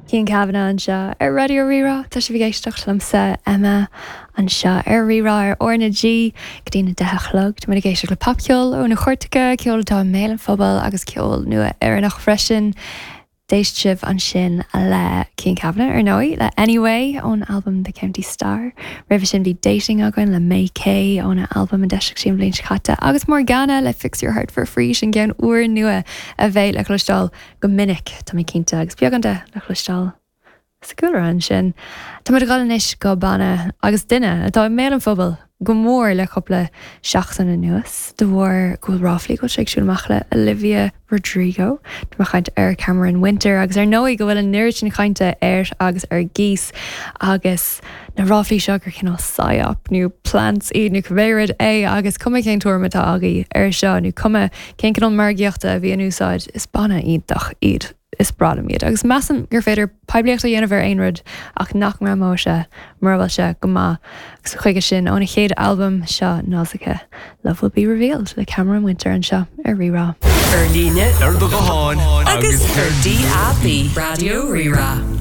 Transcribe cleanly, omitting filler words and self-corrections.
Cian Kavanagh anseo ar Raidió Rí-Rá. Tá sibh ag éisteacht liomsa, Emma, anseo ar Rí-Rá ar R na G go dtí na 10 a chlog. Tá muid ag éisteacht le popcheol ó na cairteacha, ceol atá i mbéal an phobail agus ceol nua Éireannach freisin. D'éist sibh ansin le Cian Kavanagh, ar ndóigh, le Anyway ón albam The County Star. Roimhe sin bhí Dating againn le May Kay óna albam a d'eisigh sí an bhliain seo caite agus Morgana le Fix Your Heart For Free, sin ceann úrnua a bheidh le cloisteáil go minic, tá mé cinnte, agus beagán de le cloisteáil sa gcúlra ansin. Tá muid ag dul anois go banna agus duine atá i mbéal an phobail go mór le cúpla seachtain anuas de bharr go bhfuil ráflaí go bhfuil sé ag siúl amach le Olivia Rodrigo. Tá mé ag caint ar Cameron Winter agus ar ndóigh go bhfuil an oiread sin cainte air agus ar gcíos agus na ráflaí seo gur cineál psyop nó plants iad nó cibé rud é agus cuma cén tuairim atá agaibh air seo nó cuma cén cineál margaíochta a bhí in úsáid, is banna iontach iad, is breá liom iad agus measaim gur féidir poiblíocht a dhéanamh ar aon rud ach nach ngreamóidh sé mura bhfuil sé go maith agus chuige sin óna chéad albam seo Nausicaa, Love Will Be Revealed le Cameron Winter anseo ar Rí-Rá. Ar líne, ar do ghuthán agus ar DAB. Raidió Rí-Rá.